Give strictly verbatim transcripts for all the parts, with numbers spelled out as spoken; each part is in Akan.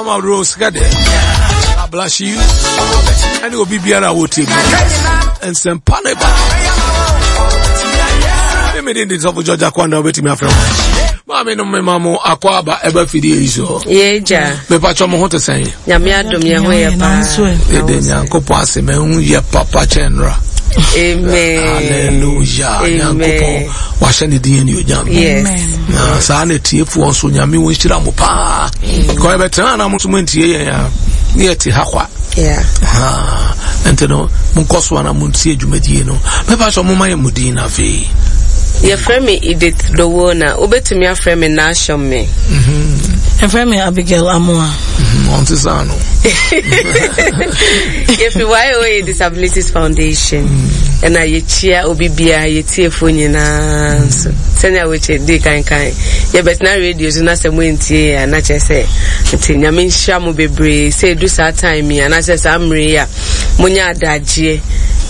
Mama Rose Gade, God bless you. Ɛne obi biara a wɔtie bi. Nsɛmpa ne ba. Meme de sɔfo George Akwanda wobɛtumi afrɛ wo. Maame no mema mo akɔ aba ɛba fidie yi so. Yɛgya. Mepatwɔ mo ho te sɛn? Nyame adom yɛn ho yɛ paa. Yɛde Nyankopɔn ase mahu yɛ papa kyɛn nnora. Amen. Hallelujah. Nyankopɔn wahyɛ ne din anuonyam. Yes. Na saa na tiefoɔ nso Nyame wo nhyira mo paa. Kɔ yɛbɛtena na mo nso moantie yɛn a ne yɛte ha kwa. Yeah. Ah, nti no monkɔ so ana montie dwumadie no. Mɛpa sɛ moma yɛ mo din no afei. Yɛfrɛ me Edith Dowona. Wobɛtumi afrɛ me Nashon me. Yɛfrɛ me Abigail Amoa. Ɔnte saa no. Yɛfi Y O A Disabilities Foundation. Ɛna yɛkyia obi biara, yɛtiefoɔ nyinaa nso. Sɛnea wɔkyɛ di kankan. Yɛbɛtena radio so na sɛ moantie yɛ a na kyerɛ sɛ nti Nyame nhyira mo bebree sɛ ɛdu saa time yi anaasɛ saa mmerɛ yi a monya adagyeɛ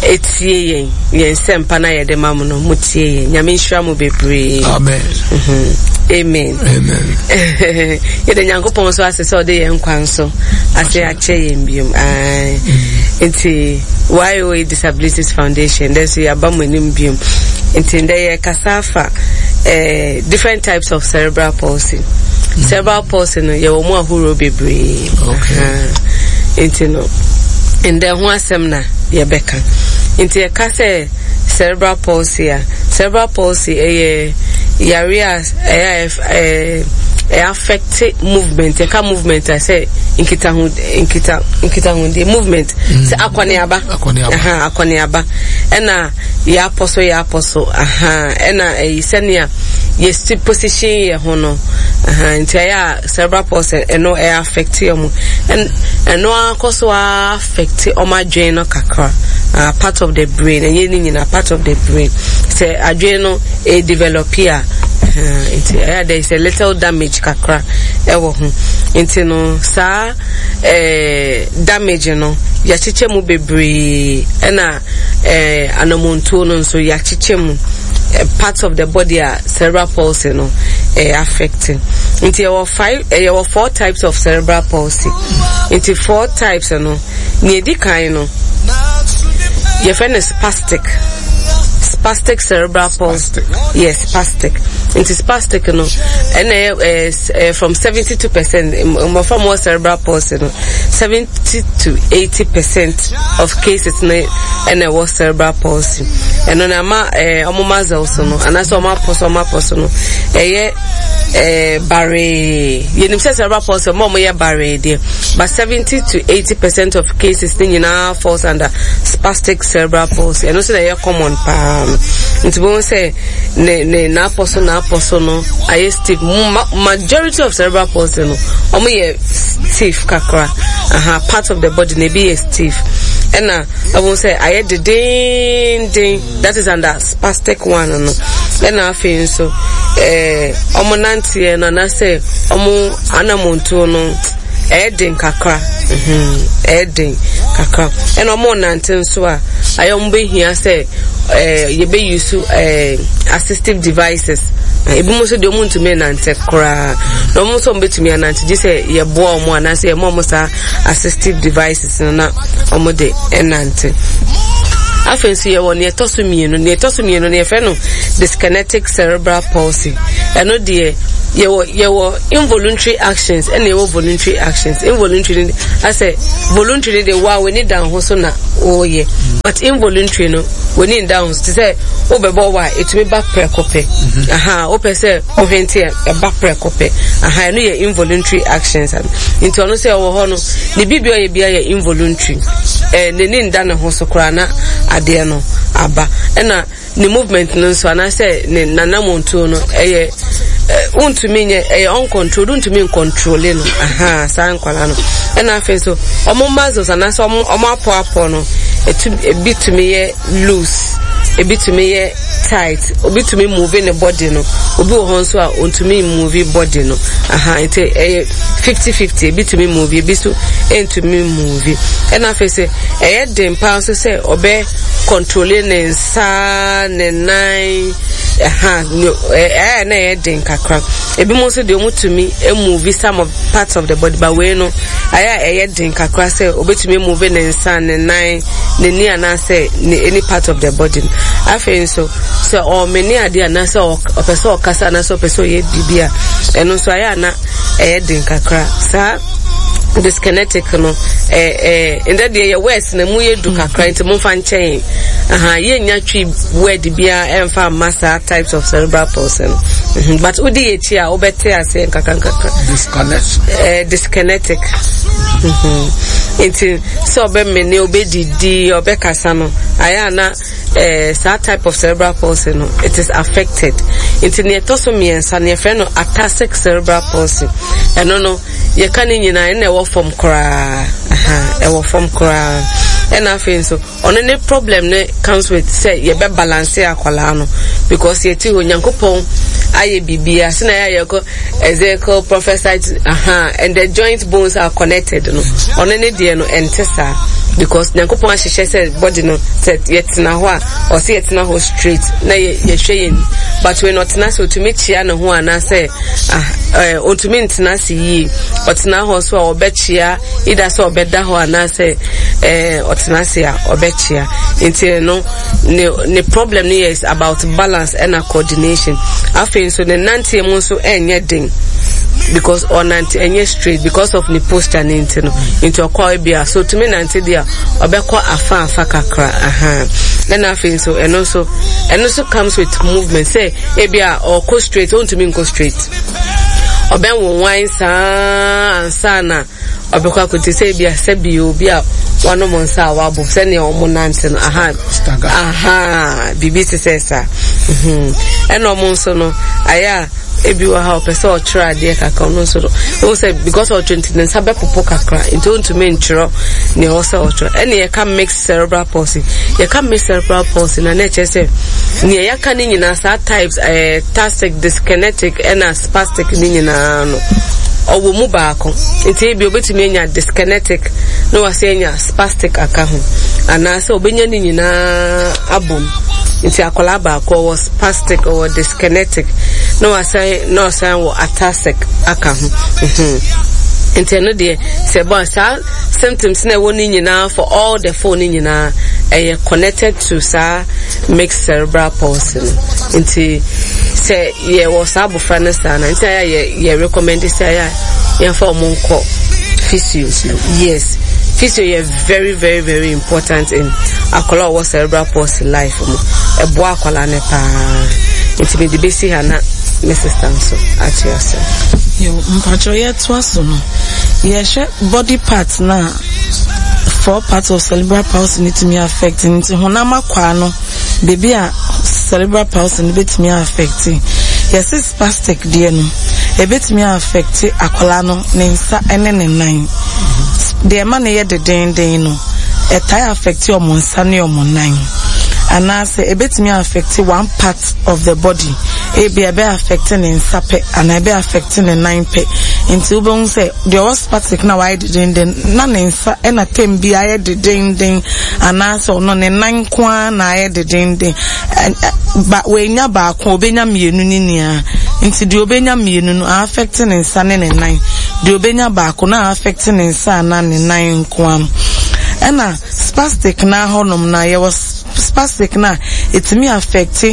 ɛtie yɛn yɛn nsɛmpa na yɛde ma mo no, motie yɛn. Nyame nhyira mo bebree. Amen. Mhm. Amen. Amen. Yɛde Nyankopɔn nso ase sɛ ɔde yɛn nkwa nso ase akyɛ yɛn biom. Ae. Nti Y O A Disabilities Foundation dɛ nso yɛaba mo anim biom. Nti ndɛ yɛkasa afa eh, different types of cerebral palsy. Cerebral palsy no, yɛwɔ mu ahorow bebree. Okay. Aha. Nti no ndɛ ho asɛm na yɛbɛka. Nti yɛka sɛ cerebral palsy a, cerebral palsy ɛyɛ yare a ɛyɛ a ɛɛ ɛyɛ affect movement. Yɛka movement a, sɛ nkitaho nkita nkitahodie movement, sɛ akɔneaba. Akɔneaba. Aha, akɔneaba, ɛna yɛapɔ so yɛapɔ so aha, ɛna ɛyi sɛnea yɛsi position yɛ ho no aha. Nti ɛyɛ a cerebral palsy ɛno ɛyɛ affect ɔmo, ɛn ɛno akɔ so a affect ɔmo adwene no kakra, uh, part of the brain. Ɛnyɛ ne nyinaa, part of the brain. Sɛ adwene no ɛ develop a uh, nti ɛyɛ there is a little damage kakra ɛwɔ ho. Nti no saa ɛɛ damage no, yɛakyekyɛ mu bebree, ɛna ɛɛ anamontuo no nso yɛakyekyɛ mu eh, parts of the body a cerebral palsy no ɛyɛ affecting. Nti yɛwɔ five, eh, yɛwɔ four types of cerebral palsy. Nti four types no, nea edi kan no yɛfrɛ no spastic spastic cerebral palsy. Spastic. Yes, spastic. Nti spastic no ɛna ɛyɛ ɛɛ ɛɛ from seventy two percent mmɔfra mu wɔ cerebral palsy no, seventy to eighty percent of cases no ɛna ɛwɔ cerebral palsy. Ɛno na ama ɛɛ ɔmo muscles no anaasɛ ɔmo apɔ so ɔmo apɔ so no ɛyɛ ɛɛ baree. Yɛnim sɛ cerebral palsy, ɔmo a ɔmo yɛ baree deɛ, but seventy to eighty percent of cases ne nyinaa falls under spastic cerebral palsy. Ɛno nso na ɛyɛ common paa no. Nti wɔn sɛ ne ne n'apɔ so n'apɔ so no ayɛ stiff. Ma majority of cerebral palsy no, ɔmo yɛ stiff kakra aha, part of the body na ebi yɛ stiff, ɛna ɛwɔ sɛ ayɛ dedenden. That is under spastic one no. Ɛna afei nso ɛɛ ɔmo nanteɛ no anaasɛ ɔmo anamontuo no ɛyɛ den kakra mhm ɛyɛ den kakra. Ɛna ɔmo nante nso a, ayɛ ɔmo behia sɛ ɛɛ yɛbɛ use ɛɛ assistive devices. Ebi mo nso deɛ, ɔmo ntumi nante koraa, na ɔmo nso ɔmo betumi anante gye sɛ yɛboa ɔmo anaasɛ yɛma ɔmo saa assistive devices no na ɔmo de ɛnante. Afei nso yɛwɔ nea ɛtɔ so mmienu. Nea ɛtɔ so mmienu no yɛfrɛ no dyskinetic cerebral palsy. Ɛno deɛ, yɛwɔ yɛwɔ involuntary actions ɛna yɛwɔ voluntary actions. Involuntary no asɛ voluntary no deɛ, wa w'ani da ho so na wɔreyɛ, but involuntary no, w'ani nda ho so. Te sɛ wobɛbɔ wa a, ɛtumi ba prɛko pɛ aha, wopɛ sɛ wohwente a, ɛba prɛko pɛ aha. Ɛno yɛ involuntary actions. Nti ɔno sɛ ɔwɔ hɔ no, ne biribi a ɔyɛ bia yɛ involuntary, ɛɛ n'ani nda ne ho so koraa na adeɛ no aba. Ɛna ne movement no nso anaasɛ ne nanamontuo no ɛyɛ ɛ wontumi nyɛ, ɛyɛ uncontrolled, wontumi ncontrol no aha saa nkwadaa no. Ɛna afei nso ɔmo muscles anaasɛ ɔmo ɔmo apɔapɔ no etu ebi tumi yɛ loose, ebi tumi yɛ tight. Obi tumi move ne body no, obi wɔ hɔ nso a ontumi move body no aha. Nti ɛyɛ fifty fifty, ebi tumi move, ebi nso ntumi move. Ɛna afei sɛ ɛyɛ den paa nso sɛ ɔbɛ control ne nsa, ne nan, Ɛha ɛyɛ na ɛyɛ den kakra. Ebi mo nso deɛ, ɔmo tumi move some of parts of the body, but wei no ayɛ a ɛyɛ den kakra sɛ obetumi move ne nsa, ne nan, n'ani anaasɛ ne any part of the body no. Afei nso sɛ ɔmene adeɛ anaasɛ ɔpɛ sɛ ɔkasa anaasɛ ɔpɛ sɛ ɔyɛ biribi a, ɛno nso ayɛ a na ɛyɛ den kakra. Saa dyskinetic no, ɛɛ ɛɛ ndɛ deɛ yɛ words na mu yɛ du kakra, nti mo nfa nkyɛn aha. Yɛnya Twi word biara ɛnfa mma saa types of cerebral palsy no, mm but wodi yɛ akyi a, wobɛte aseɛ nkakra nkakra. Disconnect. Ɛɛ dyskinetic mm-hmm. Nti sɛ ɔbɛmene, ɔbɛdidi, ɔbɛkasa no, ayɛ ana ɛɛ saa type of cerebral palsy no, it is affected. Nti nea ɛtɔ so mmiɛnsa no, yɛfrɛ no ataxic cerebral palsy. Ɛno no, yɛka ne nyinaa, ɛna ɛwɔ fam koraa, ɛwɔ fam koraa. Ɛna afei nso ɔno ne problem ne comes with sɛ yɛbɛ balance akwadaa no, because yɛte hɔ, Nyankopɔn ayɛ biribiara sɛ yɛ yɛkɔ Ezekiel prophesied aha, and the joint bones are connected no, ɔno ne deɛ no ɛnte saa, because Nyankopɔn ahyehyɛ sɛ body no, sɛ yɛtena hɔ a, ɔsɛ yɛtena hɔ straight na yɛhwɛ yɛn, but when ɔtena sɛ ɔtumi kyia ne ho anaasɛ ah ɛɛ ɔntumi ntena ase yie, ɔtena hɔ so a, ɔbɛkyia, either sɛ ɔbɛda hɔ anaasɛ ɛɛ ɔtena ase a, ɔbɛkyia. Nti no ne ne problem no yɛ about balance ɛna coordination. Afei nso ne nanteɛ mu nso ɛnyɛ den, because ɔnante ɛnyɛ straight because of ne posture ne nti no. Nti ɔkɔ ebi a, so otumi nante deɛ, ɔbɛkɔ afa afa kakra aha. Ɛna afei nso ɛno nso ɛno nso comes with movement, sɛ ebi a ɔkɔ straight, ɔntumi nkɔ straight, ɔbɛnwonwan saa ansa na ɔbɛkɔ akɔti, sɛ ebi a sɛbi obi a wanom nsa a wabɔ, sɛnea ɔmo nante no aha aha, biribi te sɛ saa. Ɛna ɔmo nso no, ayɛ a ebi wɔ ha, ɔpɛ sɛ ɔtwerɛ adeɛ kakra, ɔno nso no ɔmo sɛ because ɔtwerɛ nti ne nsa bɛpopo kakra, nti ɔntumi ntwerɛ nea ɔwɔ sɛ ɔtwerɛ. Ɛna yɛka mixed cerebral palsy. Yɛka mixed cerebral palsy na na ɛkyerɛ sɛ nea yɛaka ne nyinaa, saa types, ɛɛ ataxic, dyskinetic ɛna spastic ne nyinaa no, ɔwɔ mu baako. Nti ebi obetumi anya dyskinetic na wase anya spastic aka ho, anaasɛ obenya ne nyinaa abom. Nti akwadaa baako ɔwɔ spastic, ɔwɔ dyskinetic, na wasan na ɔsan wɔ ataxic aka ho. Nti ɛno deɛ, sɛ bɔ saa symptoms na ɛwɔ ne nyinaa for all the four ne nyinaa, ɛyɛ connected to saa mixed cerebral palsy no. Nti sɛ yɛwɔ saa abɔfra no saa na nti ayɛ yɛ yɛ recommend sɛ ayɛ yɛmfa wɔn nkɔ physio. Yes, physio yɛ very very very important in akwadaa a ɔwɔ cerebral palsy life mu. Ɛboa akwadaa no paa. Nti mede bɛsi ha na me sister nso atoa so. Yo, mpakyɛw, yɛtoa so no, yɛhwɛ body part na four parts of cerebral palsy no tumi affect. Nti honam akwaa no, beebi a cerebral palsy no bɛtumi affect, yɛsi spastic deɛ no, ebɛtumi affect akwadaa no ne nsa ne ne nan. Deɛ ɛma no yɛ dedenden no, ɛtae affect ɔmo nsa ne ɔmo nan, anaasɛ ebɛtumi affect one part of the body. Ebi ɛbɛ affect ne nsa pɛ anaa ɛbɛ affect ne nan pɛ. Nti wobɛhu sɛ deɛ ɔwɔ spastic na wayɛ dedenden na ne nsa ɛna tem bi ayɛ dedenden, anaasɛ ɔno ne nan nko ara na ayɛ dedenden. Ba wenya baako, obenya mmienu ne nyinaa. Nti deɛ obenya mmienu no, affect ne nsa ne ne nan. Deɛ obenya baako na affect ne nsa anaa ne nan nko ara. Ɛna spastic na hɔnom na yɛwɔ spastic na etumi affect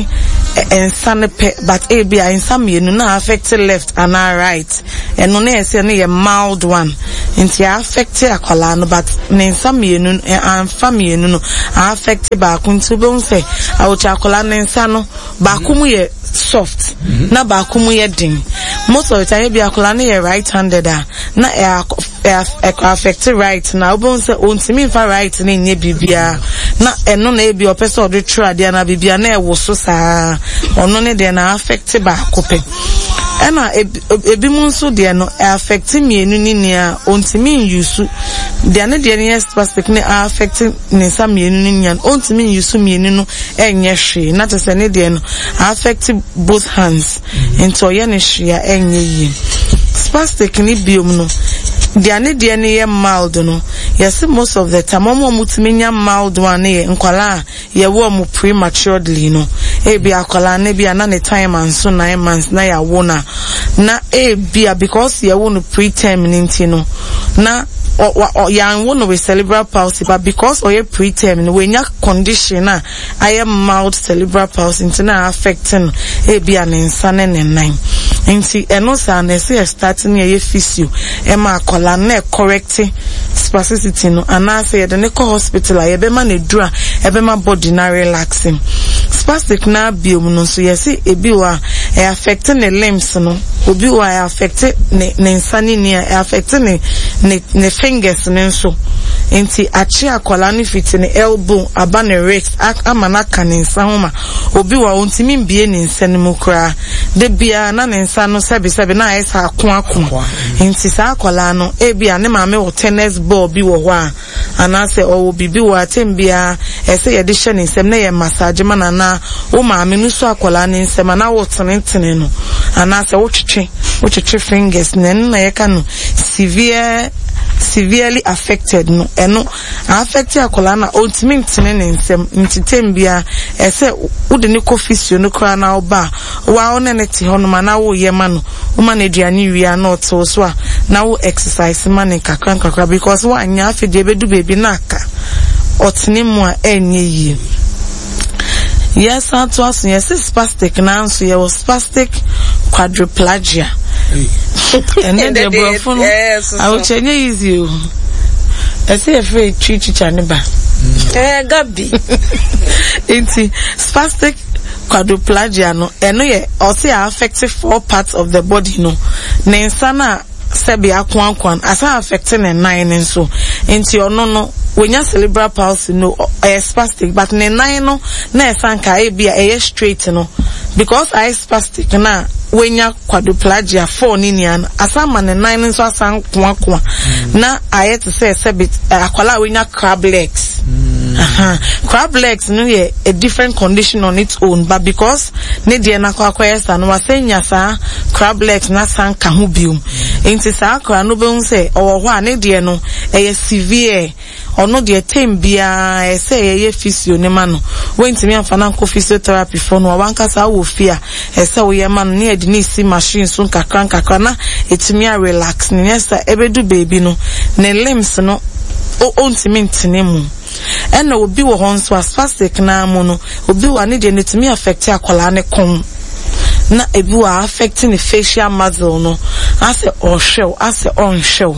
nsa no pɛ, but ebi a nsa mmienu na affect left anaa right. Ɛno ne yɛ sɛ ne yɛ mild one. Nti affect akwadaa no, but ne nsa mmienu amfa mmienu no, affect baako. Nti wobɛhu sɛ awotwe akwadaa ne nsa no baako mu yɛ soft na baako mu yɛ den. Most of the time, ebi akwadaa no yɛ right handed a, na ɛkɔ affect right na wobɛhu sɛ ontumi nfa right ne nyɛ biribiara, na ɛno na ebi ɔpɛ sɛ ɔde twerɛ adeɛ na biribiara na ɛwɔ so saa. Ɔno ne deɛ na affect baako pɛ. Ɛna ebi mu nso deɛ no affect mmienu ne nea ontumi nyusu deɛ ne deɛ no yɛ spastic ne affect ne nsa mmienu ne nea ontumi nyusu mmienu no ɛnyɛ hwee, na kyerɛ sɛ ne deɛ no affect both hands, nti ɔyɛ ne hwee a, ɛnyɛ yie. Spastic ne biom no, deɛ ne deɛ no yɛ mild no, yɛsi most of the time, wɔn a wɔtumi nya mild one no yɛ nkwalaa a yɛwɔ wɔn prematurely no. Ebi akwadaa no bi a na ne time anso nine months na yɛawo no a, na ebia because yɛwo no preterm no nti no, na yɛanwo no with cerebral palsy, but because ɔyɛ preterm no, wanya condition a ayɛ mild cerebral palsy nti na affect no, ebia ne nsa ne ne nan. Nti ɛno saa na ɛsɛ yɛ start ne yɛyɛ physio ɛma akwadaa no na ɛcorrect spasticity no, anaasɛ yɛde ne kɔ hospital a yɛbɛma no aduru a ɛbɛma body na relaxing. Spastic na biom no nso, yɛse ebi wɔ a ɛ affect ne limbs no, obi wɔ a ɛ affect ne ne nsa ne ni a ɛ affect ne ne ne fingers ne nso. Nti akye akwadaa no fiti ne elbow aba ne wrist ama n'aka ne nsa ho, ma obi wɔ a ontumi mbie ne nsa no mu koraa de biara na ne nsa no sɛbisɛbi na ayɛ sɛ ako ako. Nti saa akwadaa no, ebi a ne maame wɔ tennis ball bi wɔ hɔ a, anaasɛ ɔwɔ biribi wɔ atem biara ɛsɛ yɛde hyɛ ne nsam na yɛ massage ma no, anaa wo maame no so akwadaa ne nsam anaa wo tenetene no anaasɛ wotwetwe wotwetwe fingers na ɛno na yɛka no severe severely affected no. Ɛno affect akwadaa na ɔntumi ntene ne nsam, nti tem biara ɛsɛ wode ne kɔ physio no koraa na ɔba a, wa wo ne ne te hɔnom anaa woyɛ ma no, woma no aduane wie a na ɔte wo so a, na wo exercise ma ne nkakra nkakra, because woanyɛ afei deɛ ɛbɛdu baabi na aka ɔtene mu a ɛnyɛ yie. Yɛsan to aso, yɛse spastic, nanso yɛwɔ spastic quadriplegia. Ɛnɛ deɛ borɔfo no awokyɛ nyɛ easy o, ɛsɛ yɛfrɛ twi twitwa ne ba. Ɛɛ Gabi. Nti spastic quadriplegia no, ɛno yɛ ɔse a affect four parts of the body no. Ne nsa no a sɛbi akoakoa no, asan affect ne nan no nso. Nti ɔno no wonya cerebral palsy no, ɛyɛ spastic, but ne nan no na ɛsan ka ebi a ɛyɛ straight no, because ayɛ spastic na wonya quadriplegia four ne nia no, asan ma ne nan no nso asan koakoa na ayɛ te sɛ sɛbi akwadaa a wonya crab legs. Mm. Uh-huh. Crab legs no yɛ a different condition on its own, but because ne deɛ no akɔ akɔyɛ saa no, wasan nya saa crab legs na san ka ho biom. Nti saa akwadaa no bɛhu sɛ ɔwɔ hɔ a ne deɛ no ɛyɛ severe. Ɔno deɛ, tem biara ɛsɛ yɛyɛ physio ne ma no. Wɔntumi amfa no ankɔ physiotherapy fo no a, wankasa wɔ fie a ɛsɛ woyɛ ma no ne yɛde ne si machine so nkakra nkakra na ɛtumi a relax ne. Nyɛ sɛ ɛbɛdu baabi no, ne limbs no ɔntumi ntene mu. Ɛna obi wɔ hɔ nso a spastic naa mu no, obi wɔ a ne deɛ no tumi affect akwadaa ne kɔn, na ebi wɔ a affect ne facial muscle no, asɛ ɔhwɛw asɛ ɔnhwɛw,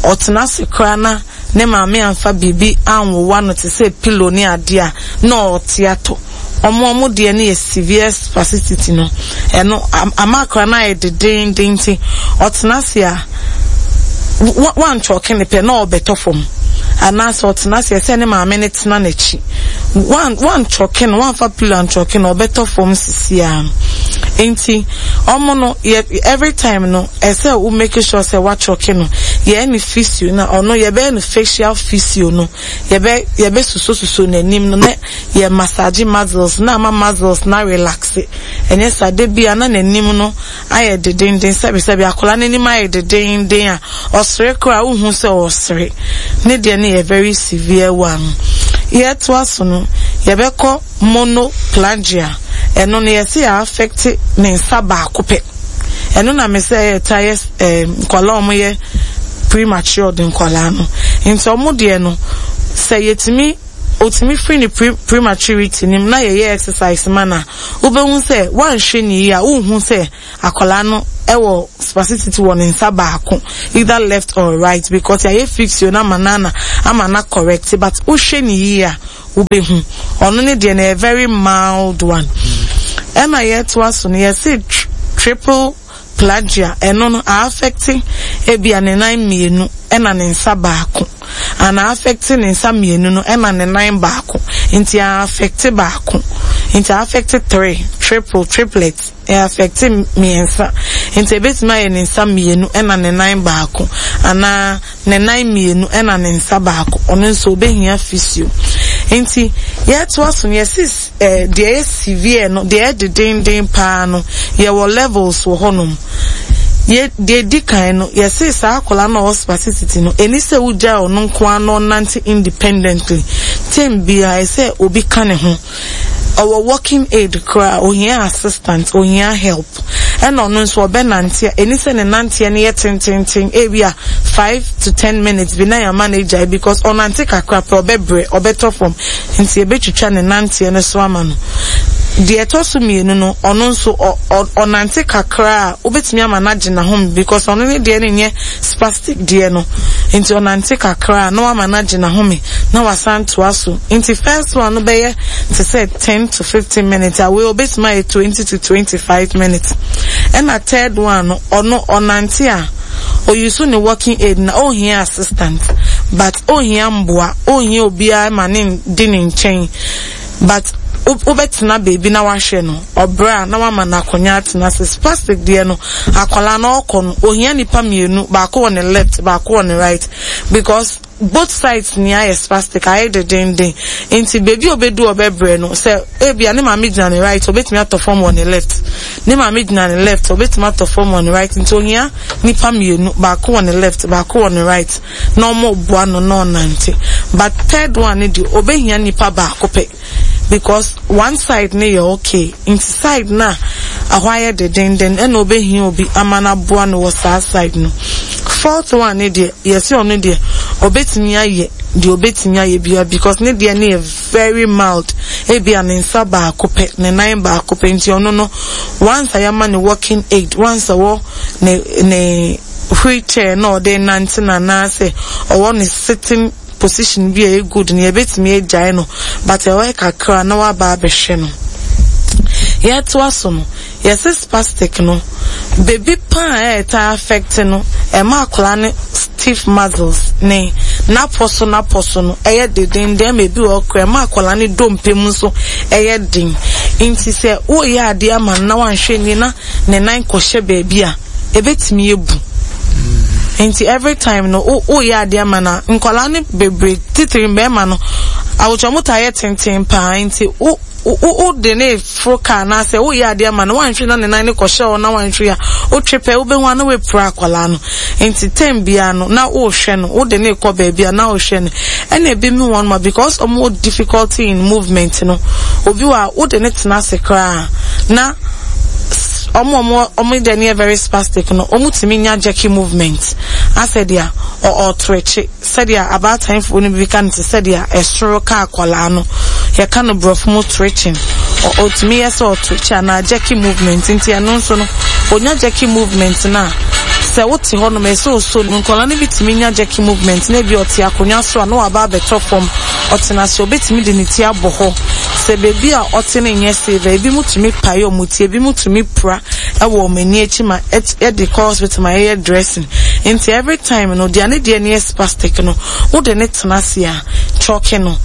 ɔtena ase koraa na ne maame amfa biribi anwowa no te sɛ pillow ne adeɛ a, na ɔte atɔ. Ɔmo ɔmo deɛ no yɛ severe spasticity no. Ɛno ama akora no ayɛ dedenden, nti ɔtena ase a, wantwɔke ne pɛ na ɔbɛtɔ fam, anaasɛ ɔtena ase ɛsɛ ne maame ne tena n'akyi, wan wantwɔke no, wamfa pillow antwɔke no, ɔbɛtɔ fam sisi a. Nti ɔmo no yɛ every time no ɛsɛ wo make sure sɛ watwɔke no, yɛyɛ ne physio na ɔno yɛbɛyɛ no facial physio no, yɛbɛ yɛbɛ susosuso n'anim no na yɛ massage muscles na ama muscles na relax. Ɛnyɛ saa de bia na n'anim no ayɛ dedenden, sɛbisɛbi akwadaa n'anim ayɛ dedenden a ɔsere koraa wohu sɛ ɔsere. Ne deɛ no yɛ very severe one. Yɛtoa so no, yɛbɛkɔ monoplegia. Ɛno no yɛsi yɛ affect ne nsa baako pɛ. Ɛno na me sɛ ɛyɛ ta yɛ ɛɛ nkwadaa a wɔyɛ premature de nkwadaa no. Nti wɔn deɛ no, sɛ yɛtumi otumi firi ne pre prematurity nim na yɛyɛ exercise ma na wobɛhu sɛ wanhwɛ ne yie a, wohu sɛ akwadaa no ɛwɔ spasticity wɔ ne nsa baako, either left or right, because yɛayɛ physio na ama na ama na correct, but wohwɛ ne yie a, wobɛhu ɔno ne deɛ no yɛ very mild one. Ɛna yɛtoa so no, yɛse triple plegia. Ɛno no a affect ebia ne nan mmienu ɛna ne nsa baako, ana affect ne nsa mmienu no ɛna ne nan baako. Nti a affect baako, nti a affect three, triple, triplet, ɛ affect mmiɛnsa. Nti ebetumi ayɛ ne nsa mmienu ɛna ne nan baako, anaa ne nan mmienu ɛna ne nsa baako. Ɔno nso obehia physio. Nti yɛtoa so no, yɛsi ɛɛ deɛ ɛyɛ severe no, deɛ ɛyɛ dedenden paa no, yɛwɔ levels wɔ hɔnom. Yɛ deɛ di kan no, yɛsi saa akwadaa no a ɔwɔ spasticity no, ɛni sɛ wogya ɔno nko ara na ɔnante independently. Tem biara ɛsɛ obi ka ne ho. Ɔwɔ walking aid koraa, ohia assistant, ohia help. Ɛna ɔno nso ɔbɛnante a, ɛni sɛ ne nanteɛ no yɛ tententen, ebi a five to ten minutes bi na yɛama no agyae, because ɔnante kakra pɛ, ɔbɛbrɛ, ɔbɛtɔ fam. Nti yɛbɛtwitwa ne nanteɛ no so ama no. Deɛ ɛtɔ so mmienu no, ɔno nso ɔnante kakra a, wobɛtumi ama no agye n'ahome, because ɔno ne deɛ no nyɛ spastic deɛ no. Nti ɔnante kakra a, na wama no agye n'ahome na wasan toa so. Nti first one no bɛyɛ te sɛ ten to fifteen minutes a, wei obɛtumi ayɛ twenty to twenty-five minutes. Ɛna third one no, ɔno ɔnante a, oyi ne walking aid na ohia assistant, but ohia mboa, ohia obiara ma ne di ne nkyɛn, but wobɛtena beebi na wahwɛ no. Ɔbrɛ a, na wama no akonnwa atena ase. Spastic deɛ no, akwadaa no ɔkɔ no, ohia nipa mmienu, baako wɔ ne left, baako wɔ ne right, because both sides ni ayɛ spastic, ayɛ dedenden. Nti beebi a obedu ɔbɛbrɛ no, sɛ ebia ne maame gyina ne right, obetumi atɔ fam wɔ ne left, ne maame gyina ne left, obetumi atɔ fam wɔ ne right. Nti ohia nipa mmienu, baako wɔ ne left, baako wɔ ne right, na ɔmo boa no na ɔnante. But third one ne deɛ, obehia nipa baako pɛ, because one side ne yɛ okay. Nti side na ɛhɔ ayɛ dedenden, ɛna obehia obi ama no aboa no wɔ saa side no. Fourth one ne deɛ, yɛsi ɔno deɛ, obetumi ayɛ deɛ obetumi ayɛ bia, because ne deɛ ne yɛ very mild. Ebia ne nsa baako pɛ, ne nan baako pɛ. Nti ɔno no, once a yɛama ne walking aid, once a wɔ ne ne wheelchair na ɔde nante na anaasɛ ɔwɔ ne sitting position bi a ɛyɛ good no, yɛbɛtumi agyae no, but ɛwɔ kakra na waba abɛhwɛ no. Yɛtoa so no, yɛsɛ spastic no, beebi paa a ɛta affect no, ɛma akwadaa no stiff muscles, ne n'apɔ so n'apɔ so no ɛyɛ dedenden, ma ebi wɔ kora ɛma akwadaa no dompe mu nso ɛyɛ den. Nti sɛ wɔreyɛ adeɛ ama no na wanhwɛ nie na ne nan kɔhyɛ beebi a, ebetumi ebu. Nti every time no, woyɛ adeɛ ama na nkwadaa no bebree, titiri mbɛrima no, awotwa mo taa yɛ tenten paa. Nti wo wo de ne foro kaa anaasɛ woyɛ adeɛ ama no, wanhwɛ na ne nan ne kɔhyɛ hɔ na wanhwɛ a, wotwe pɛ, wobɛhu a na woapira akwadaa no. Nti time biara no na wohwɛ no, wode ne kɔ baabi a na wohwɛ no. Ɛna ebi mu wɔn ma, because ɔmo difficulty in movement no, obi wɔ a wode ne tena ase koraa na ɔmo ɔmo ɔmo deɛ no yɛ very spastic no, ɔmo tumi nya jerky movement, asɛ deɛ ɔɔtwerɛkye, sɛdeɛ abaatan no bi ka no te sɛdeɛ ɛsoro ka akwadaa no, yɛka no borɔfo mu twitching. Ɔtumi yɛ sɛ ɔtwitch anaa jerky movement. Nti ɛno nso no, onya jerky movement na sɛ wote hɔ nom, ɛsɛ oso no. Nkwadaa no bi tumi nya jerky movement na ebi ɔte akonnwa so a, na waba abɛtɔ fam. Ɔtena ase, obetumi de ne ti abɔ hɔ. Sɛ beebi a ɔte no nyɛ safe, ebi mu tumi pae ɔmo ti, ebi mu tumi pira ɛwɔ ɔmo ani akyi ma ɛde kɔ hospital ma ɛyɛ dressing. Nti every time no, deɛ ne deɛ no yɛ spastic no, wode ne tena ase a, kyɔke no,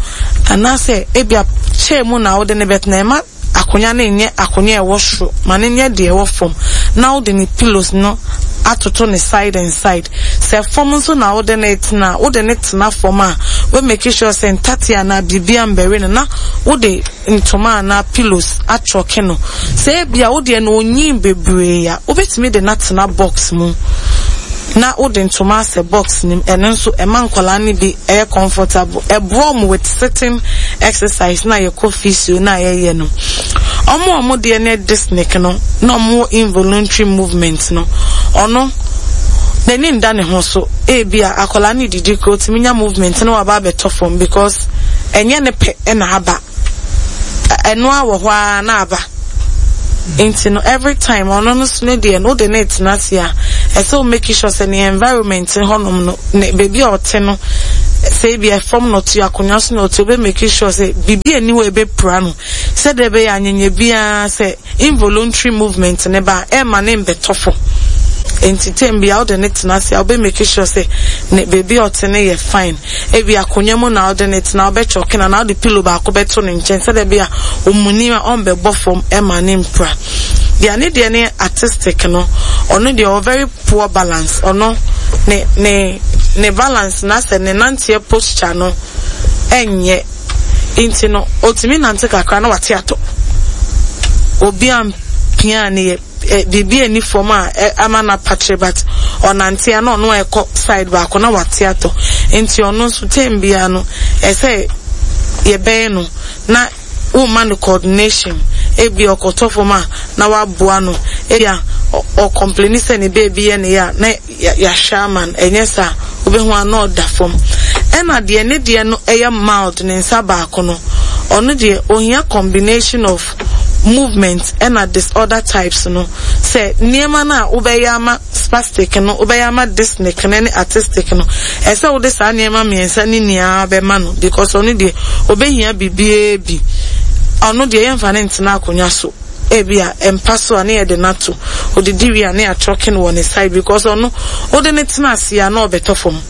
anaasɛ ebi a chair mu na wode ne bɛtena, ɛma akonnwa no nyɛ akonnwa a ɛwɔ soro, ma no nyɛ deɛ ɛwɔ fam, na wode ne pillows no atoto ne side and side. Sɛ fam nso na wode ne tena, wode ne tena fam a, we make sure sɛ ntate anaa biribi ambɛre no, na wode ntoma anaa pillows atwɔke no. Sɛ ebia wodeɛ no onyin bebree a, wobɛtumi de no atena box mu na wode ntoma asɛ box nim. Ɛno nso ɛma nkwadaa no bi ɛyɛ comfortable, ɛboa ɔmo with sitting exercise na yɛkɔ physio na yɛyɛ no. Ɔmo a ɔmo deɛ no dyspneic no na ɔmo wɔ involuntary movement no, ɔno n'ani nda ne ho so. Ebi a akwadaa no didi kuro, otumi nya movement na waba abɛtɔ fam, because ɛnyɛ ne pɛ ɛna aba, ɛno a wɔ hɔ ara na aba. Nti no, every time ɔno no so ne deɛ no, wode ne tena ase a, ɛsɛ wo make sure sɛ ne environment hɔnom no, ne beebi a ɔte no, sɛ ebi ɛfam na ɔte, akonnwa so na ɔte, obe make sure sɛ biribi ani hɔ ebɛpira no, sɛdeɛ ɛbɛyɛ anyanya biara sɛ involuntary movement ne ba ɛma ne mbɛtɔ fam. Nti time bi a wode ne tena ase a, wobɛ make sure sɛ ne beebi a ɔte no yɛ fine. Ebi akonnwa mu na wode ne tena, wobɛkyɔke na na wode pillow baako bɛto ne nkyɛn, sɛdeɛ bi a omuni a ɔmbɛbɔ fam ɛma ne mpira. Deɛ ne deɛ ne autistic no, ɔno deɛ ɔwɔ very poor balance. Ɔno ne ne ne balance na sɛ ne nanteɛ posture no ɛnyɛ. Nti no otumi nante kakra na wate atɔ. Obi a mpia ne yɛ biribi ani fam a ama no apakyere, but ɔnante a na ɔno a ɛkɔ side baako na wate atɔ. Nti ɔno nso time biara no, ɛsɛ yɛbɛn no na Woma no coordination, ebi ɔkɔtɔ fam a na waboa no, ebi a ɔcomplaini sɛ ne baby yɛ ne yɛ a na yɛahwɛ ama no, ɛnyɛ saa wobɛhu a na ɔda fam. Ɛna deɛ ne deɛ no ɛyɛ mild, ne nsa baako no, ɔno deɛ ohia combination of movement ɛna disorder types no, sɛ nneɛma no a wobɛyɛ ama spastic no, wobɛyɛ ama dyspneic no ne artistic no, ɛsɛ wode saa nneɛma mmiɛnsa ne nyinaa bɛma no, because ɔno deɛ obɛhia biribiara bi. Ɔno deɛ yɛmfa ne ntena akonnwa so, ebi a mpa so a ne yɛde n'ato, odidi wie a ne yɛatɔke no wɔ ne side, because ɔno wode ne tena ase a na ɔbɛtɔ fam.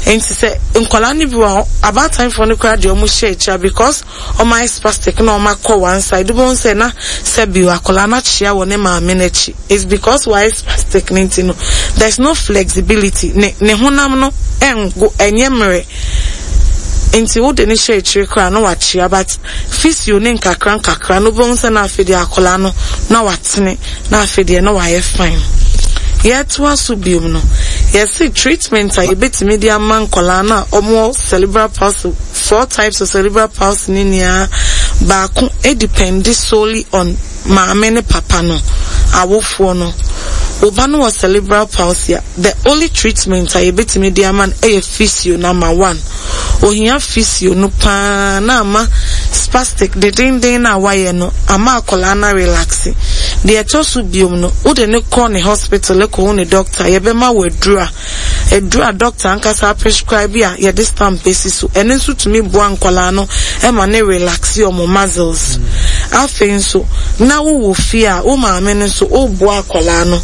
Nti sɛ nkwadaa no bi wɔ hɔ, abaatanfoɔ no koraa deɛ ɔmo hyɛ akyire because ɔmo ayɛ spastic na ɔmo akɔ one side, wobɛhu sɛ na sɛbi akwadaa no akyea wɔ ne maame n'akyi. It's because wayɛ spastic ne nti no, there's no flexibility, ne ne honam no ɛngo, ɛnyɛ mmerɛ, nti wode ne hyɛ akyire koraa na wakyea. But physio ne nkakra nkakra no, wobɛhu sɛ na afei deɛ akwadaa no na watene, na afei deɛ na wayɛ fine. Yɛtoa so biom no, yɛsi treatment a yɛbɛtumi de ama nkwadaa no a wɔwɔ cerebral palsy, four types of cerebral palsy ne nyinaa, baako depend solely on maame ne papa no, awofoɔ no. Ɔba no wɔ cerebral palsy a, the only treatment a yɛbɛtumi de ama no yɛ physio. Number one, ohia physio no paa na ama spastic dedenden na wayɛ no ama akwadaa no relax. Deɛ ɛtɔ so biom no, wode ne kɔ ne hospital kɔhu ne doctor, yɛbɛma wɔ aduru a aduru a doctor ankasa prescribe a yɛde stamp esi so. Ɛno nso tumi boa nkwadaa no ɛma ne relax ɔmo muscles. Afei nso na wowɔ fie a, wo maame no nso woboa akwadaa no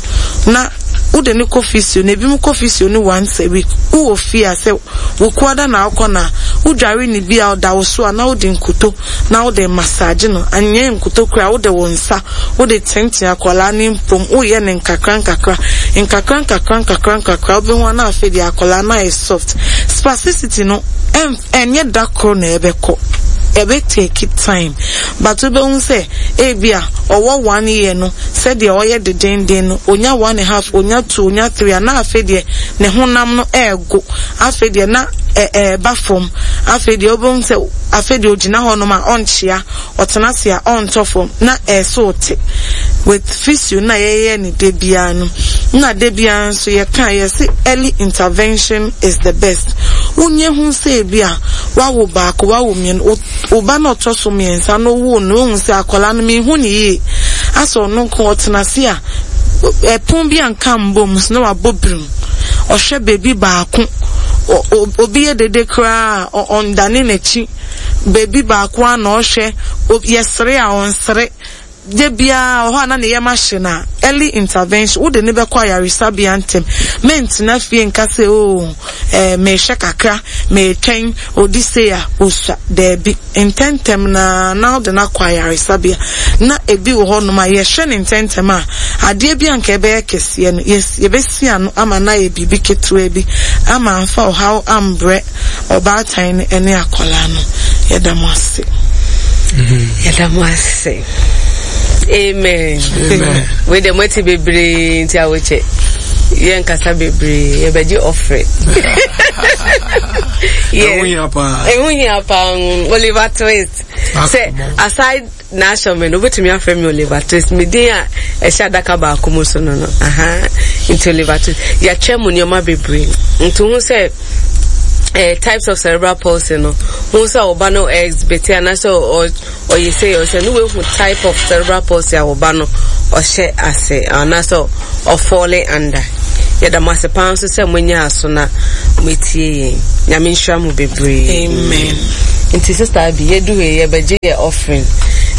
na wode ne kɔ physio na ebi mu kɔ physio no once a week. Wowɔ fie a, sɛ wokuada na akɔ na wodware ne bi a ɔda wo so a, na wode nkuto na wode massage no, anyɛ nkuto kora, wode wo nsa wode tenten akwadaa ne mpom, woyɛ ne nkakra nkakra nkakra nkakra nkakra nkakra, wobɛhu ana afei deɛ akwadaa no ayɛ soft. Spasticity no ɛnyɛ da koro na ɛbɛkɔ, ɛbɛ take time, but wobɛhu sɛ ebi a ɔwɔ one year no, sɛdeɛ ɔyɛ dedenden no, onya one and a half, onya two, onya three a, na afei deɛ ne honam no ɛɛgo, afei deɛ na ɛɛba fam. Afei deɛ wobɛhu sɛ afei deɛ ogyina hɔnom a ɔnkyea, ɔtena ase a ɔntɔ fam, na ɛsɛ ɔte with physio na yɛyɛ ne de biara no. Na de biara nso yɛka yɛsi early intervention is the best. Wonye ho sɛ ebi a wawo baako, wawo mmienu, ɔba na ɔtɔ so mmiɛnsa no, wo no ohun sɛ akwadaa no mihu ne yie, asɛ ɔno nko ɔtena ase a ɛpon bi a nka mbom so na wabɔ birim, ɔhwɛ beebi baako, obi yɛ dede koraa ɔndane n'akyi, beebi baako a na ɔhwɛ, yɛsere a ɔnsere de biara wɔ hɔ a na ne yam ahye na early intervention, wode ne bɛkɔ ayaresabea ntɛm. Mentena fie nka sɛ o ɛɛ mehwɛ kakra, metwɛn odi se a osua, daabi, ntɛntɛm na na wode no akɔ ayaresabea. Na ebi wɔ hɔnom a yɛhwɛ ne ntɛntɛm a, adeɛ bi a nka ɛbɛyɛ kɛseɛ no, yɛbɛsi ano ama na ayɛ biribi ketewa bi ama amfa ɔhaw ambrɛ ɔbaatan no ne akwadaa no. Yɛda mo ase. Yɛda mo ase. Amen. Wei deɛ moati bebree nti awokyɛ yɛnkasa bebree, yɛbɛgye offering. Ɛho hia paa. Ɛho hia paa. Oliver Twist sɛ aside n'ahyɛmɛ no, wobɛtumi afrɛ me Oliver Twist, me din a ɛhyɛ adaka baako mu so no no aha. Nti Oliver Twist, yɛatwa mu nneɛma bebree, nti ho sɛ eh, types of cerebral palsy no ho sɛ ɔba no exhibit anaasɛ ɔyɛ sɛ ɔsɛ ne wehu type of cerebral palsy a ɔba no ɔhyɛ ase anaasɛ ɔfall under. Yɛda mo ase paa nso sɛ moanya aso na moatie yɛn. Nyame nhyira mo bebree. Amen. Nti Sister Abi, yɛdu hɔ, yɛbɛgye yɛ offering.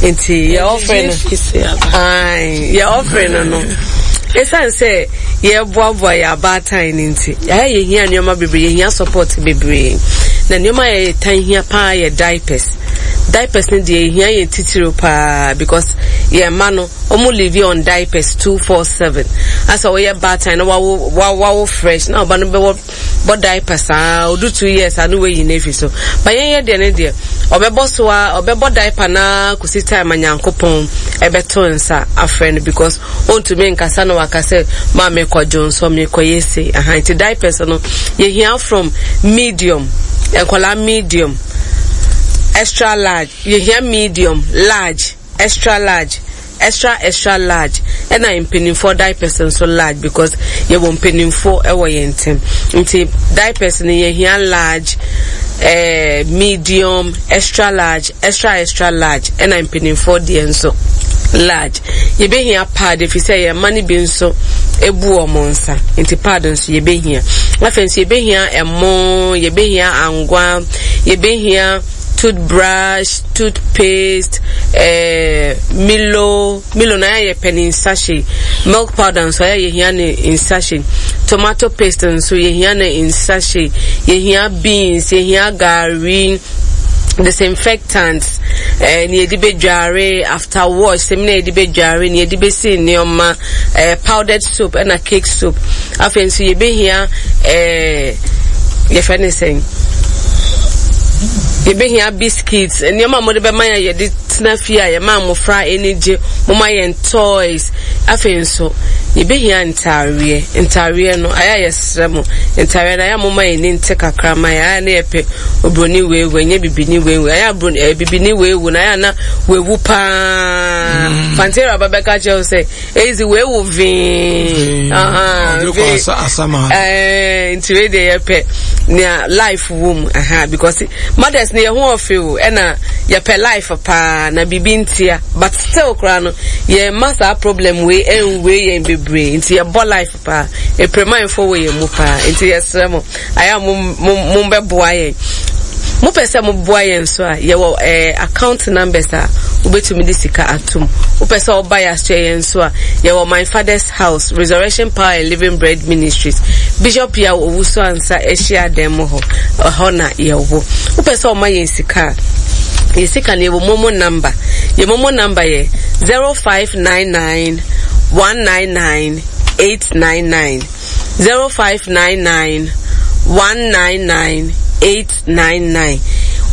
Nti yɛ offering no, yɛ offering no no ɛsiane sɛ yɛboaboa yɛ abaatan no nti, yɛayɛ yɛhia nneɛma bebree, yɛhia support bebree, na nneɛma a yɛtan hia paa yɛ diapers. Diapers no deɛ yɛhia yɛn titiriw paa, because yɛn mma no wɔn live on diapers two four seven. Asɛ wɔyɛ baatan na wawo wawo fresh na ɔba no bɛwɔ bɔ diaper saa, odu two years a no wayi n'efi so ba. Yɛn yɛ deɛ ne deɛ ɔbɛbɔ so a, ɔbɛbɔ diaper na kɔsi time a Nyankopɔn ɛbɛto nsa afrɛ no, because ɔntumi nkasa na waka sɛ maa mekɔ dwonsɔ, mekɔ yɛ se aha. Nti diapers no yɛhia from medium, nkɔlaa medium. extra large, yɛhia medium, large, extra large, extra extra large, ɛna mpanimfoɔ diapers nso large, because yɛwɔ mpanimfoɔ ɛwɔ yɛn ntɛm, nti diapers no yɛhia large, eh, medium, extra large, extra extra large, ɛna mpanimfoɔ deɛ nso large. Yɛbɛhia pad, ɛfiri sɛ yɛn mma no bi nso ebu wɔn nsa, nti pad nso yɛbɛhia. Afei nso yɛbɛhia ɛmo, yɛbɛhia angwa, yɛbɛhia toothbrush, toothpaste, eh, Milo. Milo na yɛ pɛ ne sachet, milk powder nso ayɛ yɛhia ne in sachet, tomato paste nso yɛhia ne in sachet, yɛhia beans, yɛhia gari, disinfectants, eh, ne yɛde bɛdware, after wash sɛmi na yɛde bɛdware, ne yɛde bɛsi nneɛma, eh, powdered soap ɛna cake soap. Afei nso yɛbɛhia, eh, yɛfrɛ ne sɛn, yɛbɛhia biscuits, nneɛma a wɔde bɛma yɛn yɛde tena fie a yɛma mmɔfra ani gye, moma yɛn toys. Afei nso yɛbɛhia ntaareɛ. Ntaareɛ no ayɛ a yɛsrɛ mo, ntaareɛ no ayɛ a moma yɛn ani nte kakra ma yɛn. Ayɛ a na yɛpɛ obroni weiwei, nyɛ bibini weiwei. Ayɛ a broni ɛɛ bibini weiwu na ayɛ a na wewu paa. Mm. Fantera ba bɛka kyerɛ wo sɛ ezi wewu vee. Vee. Ɛɛ nti wei deɛ yɛpɛ nea life wɔ mu, aha, because mothers no yɛ ho ɔfɛ o, ɛna yɛpɛ life paa na biribi ntia, but still koraa no yɛn ma saa problem wei ɛnwei yɛn bebree, nti yɛbɔ life paa, epremanfo wɔ yɛn mu paa, nti yɛsrɛ mo, ayɛ a mo mo mo bɛboa yɛn. Mopɛ sɛ moboa yɛn nso a, yɛwɔ eh, account numbers a wobɛtumi de sika atom. Wopɛ sɛ woba yɛ asoɛ yɛn nso a, yɛwɔ My Father's House, Resurrection Power and Living Bread Ministries, Bishop Yaw Owusu Ansa ahyia dan mu hɔ, ɛhɔ na yɛwɔ. Wopɛ sɛ ɔma yɛn sika a, yɛ sika no yɛwɔ momo number. Yɛ momo number yɛ zero five nine nine one nine nine eight nine nine, zero five nine nine one nine nine eight nine nine.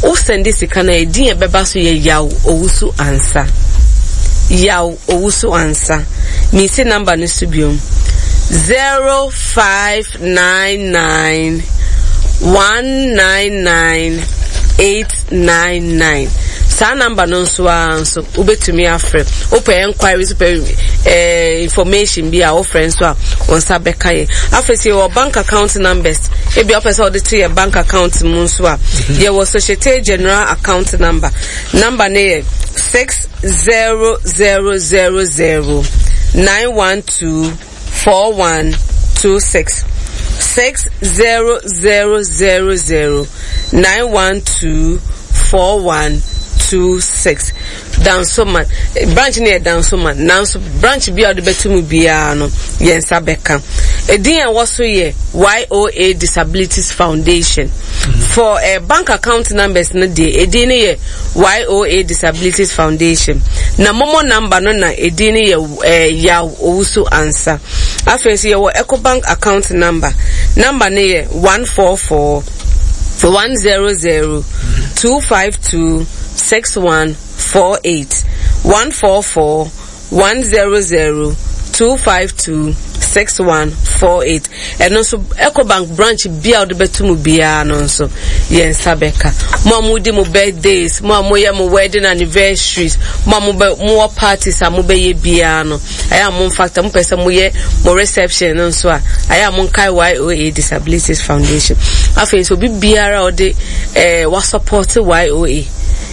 Wo sɛnde sika no a, edin a ɛbɛba so yɛ Yaw Owusu Ansa. Yaw Owusu Ansa. Mesi number no so biom. zero five nine nine one nine nine eight nine nine. Saa number no nso ara nso wobɛtumi afrɛ. Wopɛ enquiries, wopɛ eh, information bi a, wofrɛ nso a, wɔn nsa bɛka yɛ. Afei sɛ yɛwɔ bank account numbers, ebi a wopɛ sɛ wɔde to yɛ bank account mu nso a, yɛwɔ Societe Generale account number. Number no yɛ six zero zero zero zero nine one two four one two six, six zero zero zero zero nine one two four one two six. Dansoman branch no yɛ Dansoman, nanso branch bi a wɔde bɛto mu biara no yɛn nsa bɛka. Edin a ɛwɔ so yɛ Y O A Disabilities Foundation. For uh, bank account numbers no deɛ, edin no yɛ Y O A Disabilities Foundation, na momo number no na edin no yɛ uh, Yaw Owusu Ansa. Afei nso yɛwɔ Ecobank account number. Number no yɛ one four four one zero zero two five two six one four eight, one four four one zero zero two five two six one four eight. Ɛno nso Ecobank branch bia a wɔde bɛto mu biara no nso yɛn nsa bɛka. Mo a modi mo birthdays, mo a moyɛ mo wedding anniversaries, mo a mobɛ mowɔ parties a mobɛyɛ biara no, ayɛ a momfa ta mopɛ sɛ moyɛ mo reception no nso a, ayɛ a monkae Y O A Disabilities Foundation. Afei nso obi biara a ɔde ɛɛ wasupport Y O A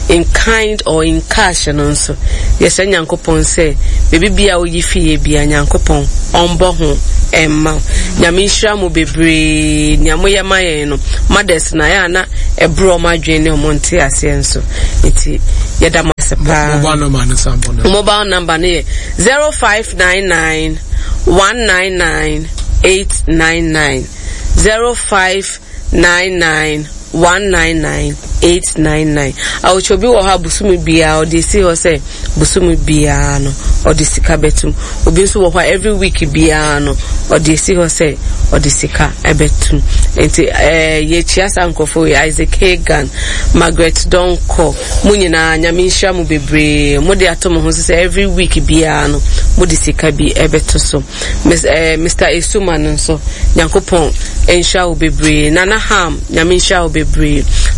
in kind or in cash no nso, yɛsrɛ Nyankopɔn sɛ baabi bia woyi fie bia, Nyankopɔn ɔmbɔ ho ɛmma wo. Nyame nhyira mo bebree. Nea moyɛ ma yɛn no, mothers na ayɛ a na ɛborɔ ɔmo adwene ne ɔmo nte aseɛ nso, nti yɛda mo ase paa. Mobile number no san bɔ no. Mobile number no yɛ zero five nine nine one nine nine eight nine nine, zero five nine nine one nine nine eight nine nine. Awotwe obi wɔ hɔ a, bosomi biara ɔde esi hɔ sɛ bosomi biara no ɔde sika bɛtum. Obi nso wɔ hɔ a, every week biara no ɔde esi hɔ sɛ ɔde sika ɛbɛtum. Nti ɛɛ yɛkyia saa nkurɔfoɔ yi: Isaac Hagan, Margaret Donko, mo nyinaa Nyame nhyira mo bebree. Mo de ato mo ho so sɛ every week biara no mo de sika bi ɛbɛto so. Miss, eh, Mister Esuma no nso, Nyankopɔn nhyira wo bebree. Nana Ham, Nyame nhyira wo bebree.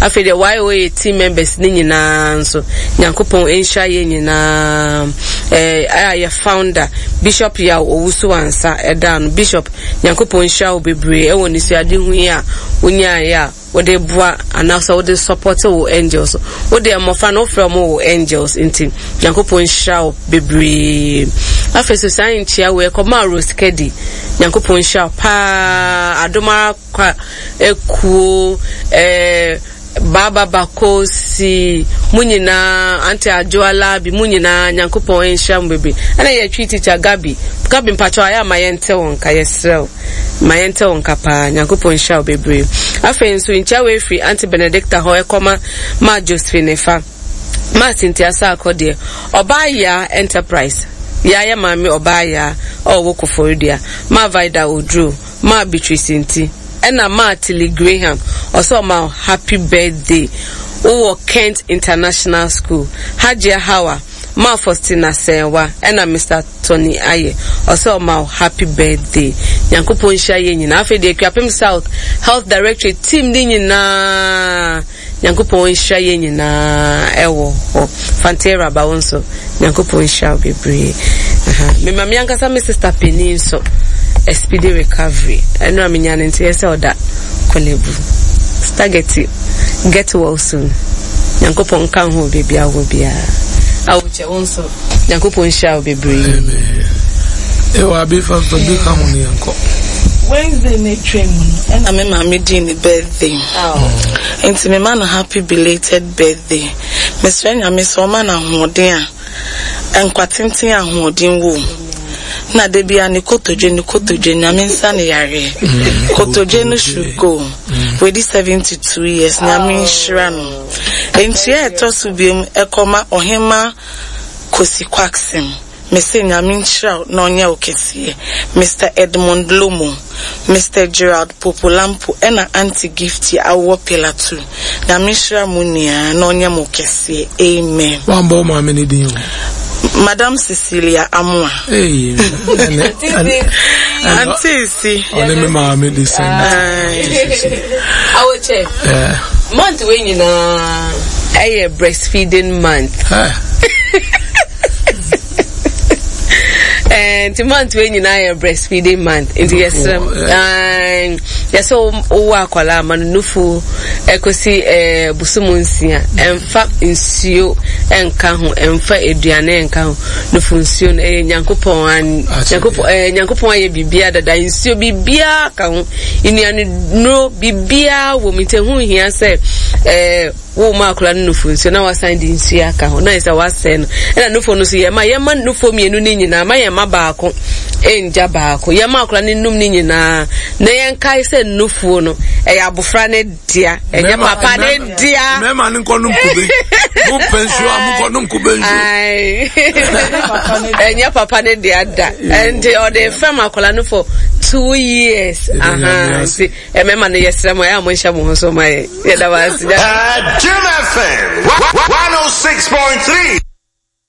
Afei deɛ Y O A team members ne nyinaa nso, Nyankopɔn nhyira yɛn nyinaa. Ɛɛ a yɛ founder Bishop Yaw Owusu Ansa ɛda no, Bishop, Nyankopɔn nhyira wo bebree ɛwɔ nisuade ho yi a wonyaeɛ a wode boa anaasɛ wode support wo angels. Wode mmɔfra no, wofrɛ mo wo angels, nti Nyankopɔn nhyira wo bebree. Afei so saa nkyia wei ɛkɔmaa Rose Kedi. Nyankopɔn nhyira wo paa. Adomara kwa ekuo, ɛɛ Baba Bakosi, mu nyinaa, Auntie Adwoala bi, mu nyinaa, Nyankopɔn nhyira mo bebree. Ɛna yɛtwi teacher Gabi, Gabi, mpakyɛw, ayɛ ama yɛnte wo nka. Yɛserɛ wo, ma yɛnte wo nka paa. Nyankopɔn nhyira wo bebree. Afei nso nkyia wei firi Auntie Benedicta hɔ ɛkɔma ma Josephine fa ma Cynthia Saakɔ deɛ Ɔbaa Yaa Enterprise, yaa yɛ maame Ɔbaa Yaa a ɔwɔ Koforidua, ma Vida Oduro, ma Beatrice Nti, ɛna ma Tilly Graham. Ɔsɛ ɔma happy birthday, wowɔ Kent International School. Hajia Hawa, ma Faustina Sɛnwa, ɛna Mister Tony Ayɛ, ɔsɛ ɔma happy birthday. Nyankopɔn nhyira yɛ nyinaa. Afei deɛ Akuapem South Health Directorate team ne nyinaa, Nyankopɔn nhyira yɛ nyinaa ɛwɔ hɔ. Fantera ba, wo nso Nyankopɔn nhyira wo bebree. Mema me ankasa me sister panin nso a speedy recovery. Ɛno a menya no nti yɛ sɛ ɔda Korle Bu. Stargetty, get well soon. Nyankopɔn nka ho baabi a wɔ biara. Awokyɛ, wo nso Nyankopɔn nhyira wo bebree. Ɛwɔ abi fa fa bi ka ho ne yɛnkɔ. Wednesday na etwa mu no ɛna me maame dii ne birthday, nti me ma no happy belated birthday. Mesrɛ Nyame sɛ ɔma no ahoɔden a nkwa tenten, ahoɔden wɔ mu, na da bia ne kotodwe ne kotodwe Nyame nsa ne yareɛ kotodwe no should go. Wedi seventy-two years. Nyame nhyira no. Nkyia ɛtɔ so biom ɛkɔma Ɔhema Kosi Kwaksim. Mese Nyame nhyira wo na ɔnyɛ wo kɛseɛ. Mister Edmond Lomo, Mister Gerald Popolampo, ɛna Auntie Gifty awowɔ Pillar two. Nyame nhyira mo nyinaa na ɔnyɛ mo kɛseɛ. Amen. Wambɔ wo maame ne din o. Madam Cecilia Amoa. Hey, ɛnɛ ɛnɛ Auntie si. Ɔne me maame de sɛn. Awokyɛ, month wei nyinaa ɛyɛ breastfeeding month. Nti month wei nyinaa yɛ breastfeeding month, nti yɛsrɛ yɛsɛ wowɔ akwadaa ma no nufu ɛkɔsi ɛɛ bosom nsia. Ɛmfa nsuo ɛnka ho, ɛmfa aduane ɛnka ho. Nufu nsuo no ɛyɛ Nyankopɔn an Nyankopɔn ɛɛ Nyankopɔn ayɛ biribiara dada. Nsuo biribiara ka ho, nnuane nnuro biribiara wɔ mu, nti ɛho hia sɛ ɛɛ wo ma akwadaa no nufu nsuo na wasan de nsuo aka ho na yɛ sɛ wasɛe no. Ɛna nufu no so yɛ ma yɛma nufu mmienu ne nyinaa, ma yɛn ma baako ngya baako, yɛma akwadaa no num ne nyinaa, na yɛnkae sɛ nufuo no ɛyɛ abofra ne dea, ɛnyɛ papa ne dea. Mmarima no nkɔ nom kube. Mo pɛ nsuo a, mo nkɔ nom kube nsuo. Ɛnyɛ papa ne dea da, nti ɔde fɛm akwadaa no for two years. Nti mmarima no, yɛsrɛ mo, ɛyɛ a mo nhyɛ mo ho so ma yɛ. Yɛda mo ase. Jim F M one oh six point three.